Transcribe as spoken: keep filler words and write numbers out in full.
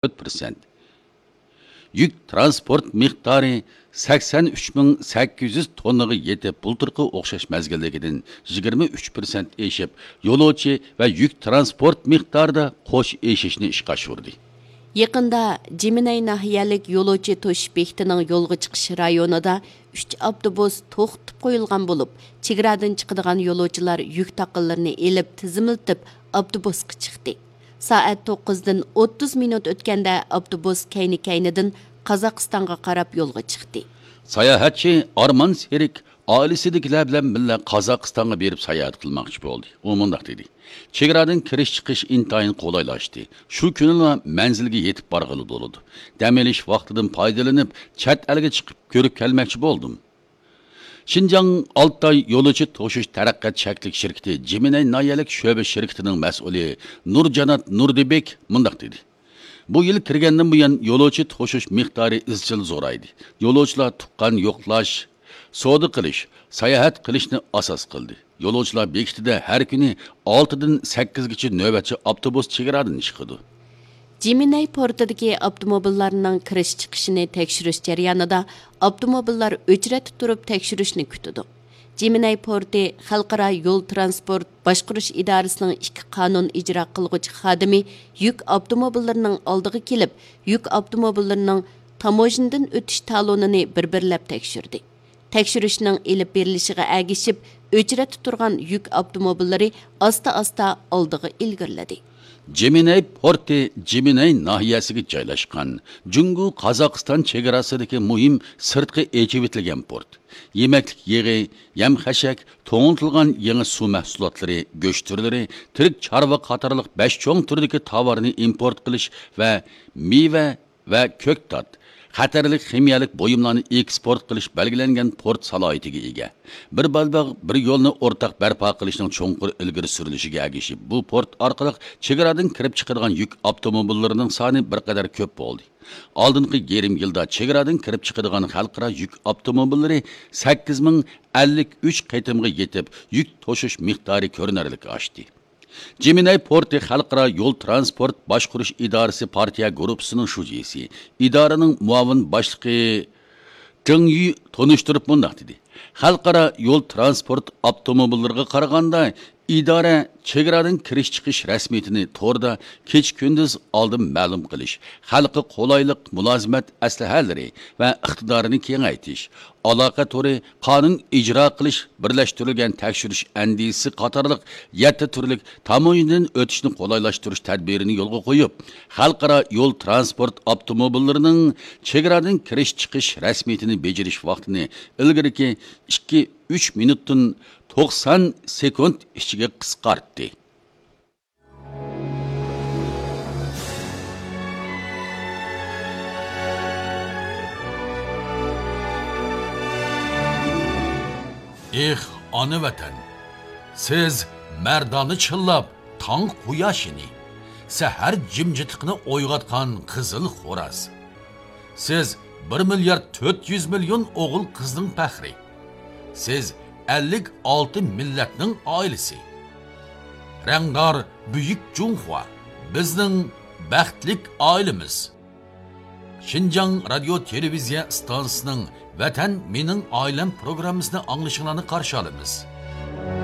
تۆت پىرسەنت. يۈك تىرانسپورت مىقدارى سەكسەن ئۈچ مىڭ سەككىز يۈز توننىغا يېتىپ، بۇلتۇرقى ئوخشاش مەزگىلدىكىدىن يىگىرمە ئۈچ پىرسەنت ئېشىپ، يولۇچى ۋە يۈك تىرانسپورت مىقدارىدا قوش ئېشىشنى ئىشقا ئاشۇردى. يېقىندا جىمىنەي ناھىيەلىك يولۇچى توشۇش بېكىتىنىڭ يولغا چىقىش رايونىدا ئۈچ ئاپتوبۇس توختىتىپ قويۇلغان بولۇپ، چېگرادىن چىقىدىغان يولۇچىلار يۈك تاقىلىرىنى ئېلىپ تىزىملىتىپ ئاپتوبۇسقا چىقتى. سائەت توققۇزدىن ئوتتۇز مىنۇت ئۆتكەندە ئاپتوبۇس كەينى-كەينىدىن قازاقىستانغا قاراپ يولغا چىقتى. ساياھەتچى ئارمان سېرىك ئائىلىسىدىكىلەر بىلەن بىللە قازاقىستانغا بېرىپ ساياھەت قىلماقچى بولدى. ئۇ مۇنداق دېدى: «چېگرادىن كىرىش-چىقىش ئىنتايىن قولايلاشتى. شۇ كۈنىلا مەنزىلگە يېتىپ بارغىلى بولىدۇ. دەم ئېلىش ۋاقتىدىن پايدىلىنىپ، چەت ئەلگە چىقىپ كۆرۈپ كەلمەكچى بولدۇم.» شىنجاڭ ئالتاي يولۇچى توشۇش تەرەققىيات چەكلىك شىركىتى جىمىنەي ناھىيەلىك شۆبە شىركىتىنىڭ مەسئۇلى نۇرجانات نۇردىبېك مۇنداق دېدى: «بۇ يىل كىرگەندىن بۇيان، يولۇچى توشۇش مىقدارى ئىزچىل زورايدى. يولۇچىلار تۇغقان يوقلاش، سودا قىلىش، ساياھەت قىلىشنى ئاساس قىلدى. يولۇچىلار بېكىتىدە ھەر كۈنى ئالتىدىن سەككىزگىچە نۆۋەتچى ئاپتوبۇس چېگرادىن چىقىدۇ.» جىمىنەي پورتىدىكى ئاپتوموبىللارنىڭ كىرىش-چىقىشىنى تەكشۈرۈش جەريانىدا ئاپتوموبىللار ئۆچرەتتە تۇرۇپ تەكشۈرۈشنى كۈتىدۇ. جىمىنەي پورتى خەلقئارا يول تىرانسپورت باشقۇرۇش ئىدارىسىنىڭ ئىككى قانۇن ئىجرا قىلغۇچى خادىمى يۈك ئاپتوموبىللىرىنىڭ ئالدىغا كېلىپ، يۈك ئاپتوموبىللىرىنىڭ تاموژنىدىن ئۆتۈش تالونىنى بىر-بىرلەپ تەكشۈردى. تەكشۈرۈشنىڭ ئېلىپ بېرىلىشىغا ئەگىشىپ، ئۆچرەتتە تۇرغان يۈك ئاپتوموبىللىرى ئاستا-ئاستا ئالدىغا ئىلگىرىلىدى. جىمىنەي پورتى جىمىنەي ناھىيەسىگە جايلاشقان جۇڭگو-قازاقىستان چېگراسىدىكى مۇھىم سىرتقى ئېچىۋېتىلگەن پورت. يېمەكلىك يېغى، يەم-خەشەك، توڭلىتىلغان يېڭى سۇ مەھسۇلاتلىرى، گۆش تۈرلىرى، تىرىك چارۋا قاتارلىق بەش چوڭ تۈردىكى تاۋارنى ئىمپورت قىلىش ۋە مېۋە ۋە كۆكتات، خەتەرلىك خىمىيەلىك بۇيۇملارنى ئېكسپورت قىلىش بەلگىلەنگەن پورت سالاھىيىتىگە ئىگە. بىر بەلباغ، بىر يولنى ئورتاق بەرپا قىلىشنىڭ چوڭقۇر ئىلگىرى سۈرۈلۈشىگە ئەگىشىپ، بۇ پورت ئارقىلىق چېگرادىن كىرىپ چىقىدىغان يۈك ئاپتوموبىللىرىنىڭ سانى بىر قەدەر كۆپ بولدى. ئالدىنقى يېرىم يىلدا چېگرادىن كىرىپ چىقىدىغان خەلقئارا يۈك ئاپتوموبىللىرى سەككىز مىڭ ئەللىك ئۈچ قېتىمغا يېتىپ، يۈك توشۇش مىقدارى كۆرۈنەرلىك ئاشتى. جىمىنەي پورتى خەلقئارا يول تىرانسپورت باشقۇرۇش ئىدارىسى پارتىيە گۇرۇپپىسىنىڭ شۇجىسى، ئىدارىنىڭ مۇئاۋىن باشلىقى جېڭ يۈ تونۇشتۇرۇپ مۇنداق دېدى: «خەلقئارا يول تىرانسپورت ئاپتوموبىللىرىغا قارىغاندا، ئىدارە چېگرادىن كىرىش-چىقىش رەسمىيىتىنى توردا كېچە-كۈندۈز ئالدىن مەلۇم قىلىش، خەلققە قولايلىق مۇلازىمەت ئەسلىھەلىرى ۋە ئىقتىدارىنى كېڭەيتىش، ئالاقە تورى، قانۇن ئىجرا قىلىش، بىرلەشتۈرۈلگەن تەكشۈرۈش ئەندىزىسى قاتارلىق يەتتە تۈرلۈك تاموژنىدىن ئۆتۈشنى قولايلاشتۇرۇش تەدبىرىنى يولغا قويۇپ، خەلقئارا يول تىرانسپورت ئاپتوموبىللىرىنىڭ چېگرادىن كىرىش-چىقىش رەسمىيىتىنى بېجىرىش ۋاقتىنى ئىلگىرىكى ئىككى، ئۈچ مىنۇتتىن توقسان سېكۇنت ئىچىگە قىسقارتتى.» ئېھ، ئانا ۋەتەن! سىز مەردانە چىللاپ تاڭ قۇياشىنى، سەھەر جىمجىتلىقىنى ئويغاتقان قىزىل خوراز. سىز بىر مىليارد تۆت يۈز مىليون ئوغۇل-قىزنىڭ پەخرى. سىز ئەللىك ئالتە مىللەتنىڭ ئائىلىسى. رەڭدار بۈيۈك جۇڭخۇا، بىزنىڭ بەختلىك ئائىلىمىز. شىنجاڭ رادىيو تېلېۋىزىيە ئىستانسىسىنىڭ ۋەتەن مېنىڭ ئائىلەم پروگراممىسىنى ئاڭلىشىڭلارنى قارشى ئالىمىز.